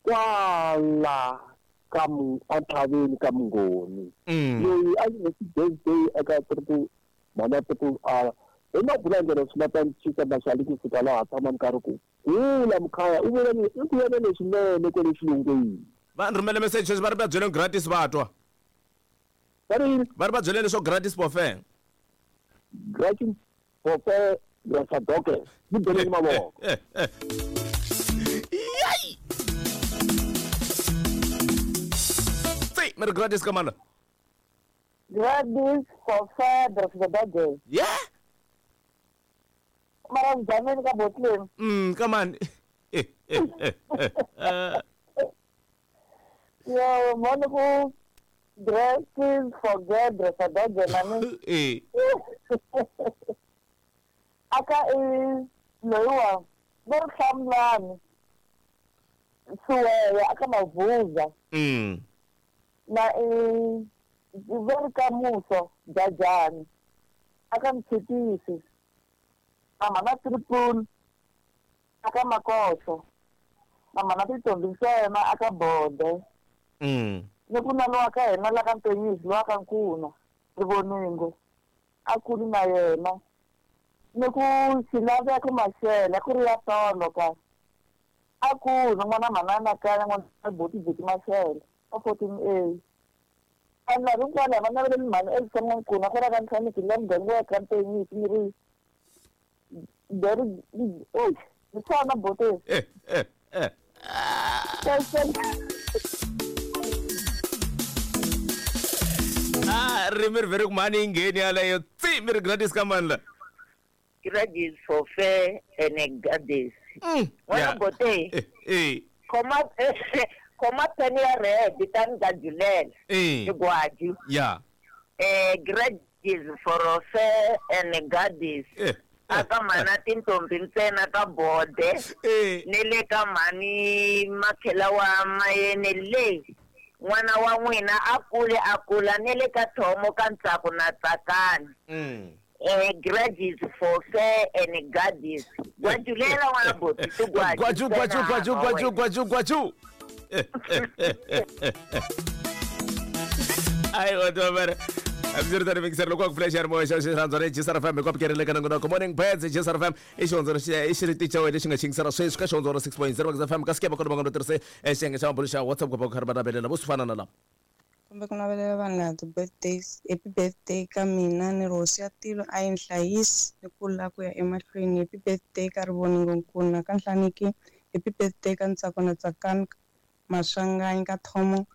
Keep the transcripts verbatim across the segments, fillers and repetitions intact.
Kwala ka athaveni ka Mungoni. Loyi a yi birthday eka triple mana triple R. Hi mabulangelo swi ta cinca maxali ku fika laha tshama nkarhi ku kula mukhaya u vula ni i ku yena leswinene kwale xilungwini. Va ni rhumele message sweswi va ri va byeleni gratis va twa. Va ri yini? Va ri va byeleni leswo gratis buffet. Gratis buffet ya sadoke. Ni byeleni mavoko. Yai! Tsi, mi ri gratis ka mana? Gratis buffet ya sadoke. Yeah? Mara mzameni ka botleng. Mm, come on. Yo, mona ku gratis forget sadoke mani. Eh. Aka e loyiwa va ri hlamulani Suweya aka Mavuza. Mm. Na e va ri ka Muso Jajani aka Mtshitisi. Mama na triple aka Makoso. Mama na tintombi ntsena aka Bode. Mm. Ni ku na lowa ka hina la ka Ntonyizi lowa ka Nkuna Rivoningo a kuli na yena. Ni ku xilaveko Maxele ku ri ya tolo ka a ku n'wana manana kaya n'wana boti boti Maxele a fourteen A. Vanhu lava hinkwavo va naveleni mhani Elsa N'wankuna ku ra ka Ntlhaniki la muganga wa ka Ntonyizi ni ri leri ey hi swona boti. Eh eh eh. Ah, ririmi ri vhele ku mhani yi ngheni yaleyo tsi mi ri gratis ka mani la. Gratis for fair and goddess. Mm. N'wana bote. Eh eh. Khoma khoma peni ya red ta ni gajulela. Eh. Xigwaju. Yeah. Eh gratis for fair and goddess. Eh. Aka mana tintombi ntsena ka Bode. Eh. Ni le ka mhani makhela wa mayene le. N'wana wa n'wina a kule a kula ni le ka thomo ka Ntsako na Tsakani. Mm. Eh gratis for fair and goddess. Gwajulela n'wana boti ti gwaju. Gwaju gwaju gwaju gwaju gwaju gwaju. Ai o to Absurdo mixer loko ku flash mo xa xirhandza re G S R F M ku apukerele ka nongonoko Morning Birds G S R F M i xihondzo i xiriticha wena lexi nga xingisela sweswi ka xihondzo six point zero F M ka sikeba kona va nga tirhise xiyenge xa mabulo xa WhatsApp ku va ku karhi va navelela vo swi fana na lava. Kumbe ku navelela vanhu lava ti-birthdays, happy birthday ka mina ni ri hosi ya tilo a yi ni hlayisi ni kula ku ya emahlweni. Happy birthday ka Rivoningo Nkuna ka Nhlaniki, happy birthday ka Ntsako na Tsakani Maswanganyi ka Thomo,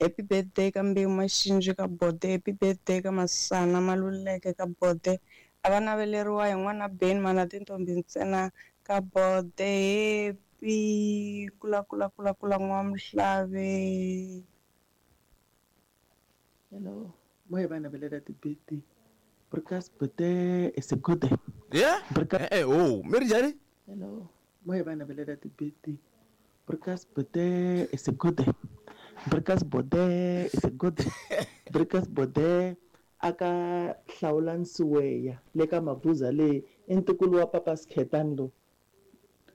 happy birthday ka Mbewu Maxinji ka Bode, happy birthday ka Masana Maluleke ka Bode. A va naveleriwa hi n'wana Ben mana tintombi ntsena ka Bode. Happy kula kula kula kula n'wamuhlave. Hello, moya va navelela ti-birthday. Broadcast birthday is a good day. Yeah? Broadcast Eh eh oh, mi ri njhani? Hello, moya va navelela ti-birthday. Broadcast birthday is a good day. Broadcast birthday is a good day. Broadcast birthday aka hlawula Nsuweya le ka Mabuza le i ntukulu wa Papa Skhetani lo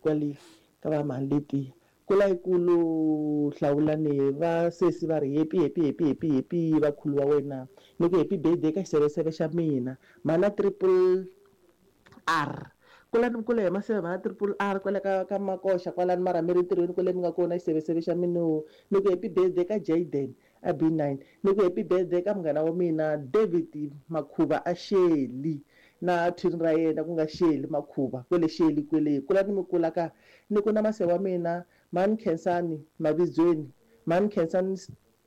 kwale ka va mhani letiya. Kula yikulu hlawulani va sesi va ri happy happy happy happy happy vakhulu wa wena ni ku happy birthday ka xiseveseve xa mina mana triple R kulani mi kula hi maseve mana triple R kwale ka ka Makoxa kwalani mara mi ri ntirhweni kwale mi nga kona xiseveseve xa mina ni ku happy birthday ka Jaden a B nine ni ku happy birthday ka munghana wa mina David Makhuva a Sheli na twin ra yena ku nga Sheli Makhuva kwele Sheli kwele kulani mi kula ka ni ku na maseve wa mina Mani Khensani Mavizweni Mani Khensani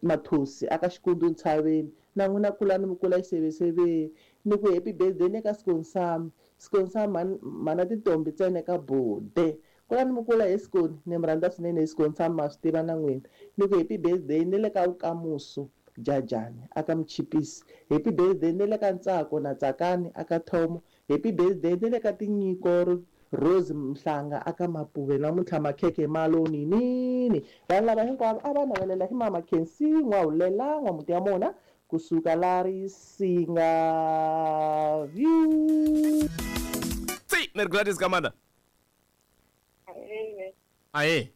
Mathosi aka Xikundu Ntshaveni na n'wina kulani mi kula xiseveseve ni ku happy birthday ni ka Skonsam Skonsam mana tintombi ntsena ka Bode kulani mi kula hi Skoni ni mi rhandza swinene hi Skonsam ma swi tiva na n'wina ni ku happy birthday ni le ka Vukamuso Jajani aka Mchipisi happy birthday ni le ka Ntsako na Tsakani aka Thomo happy birthday ni le ka Tinyiko Rose Mhlanga aka Mapuve namuntlha makhekhe maloni nini vanhu lava hinkwavo a va navelela hi mama Khensi N'wahulela N'wamuti ya mona kusuka la Risinga View. Tsi, mi ri gratis ka mana. Aye.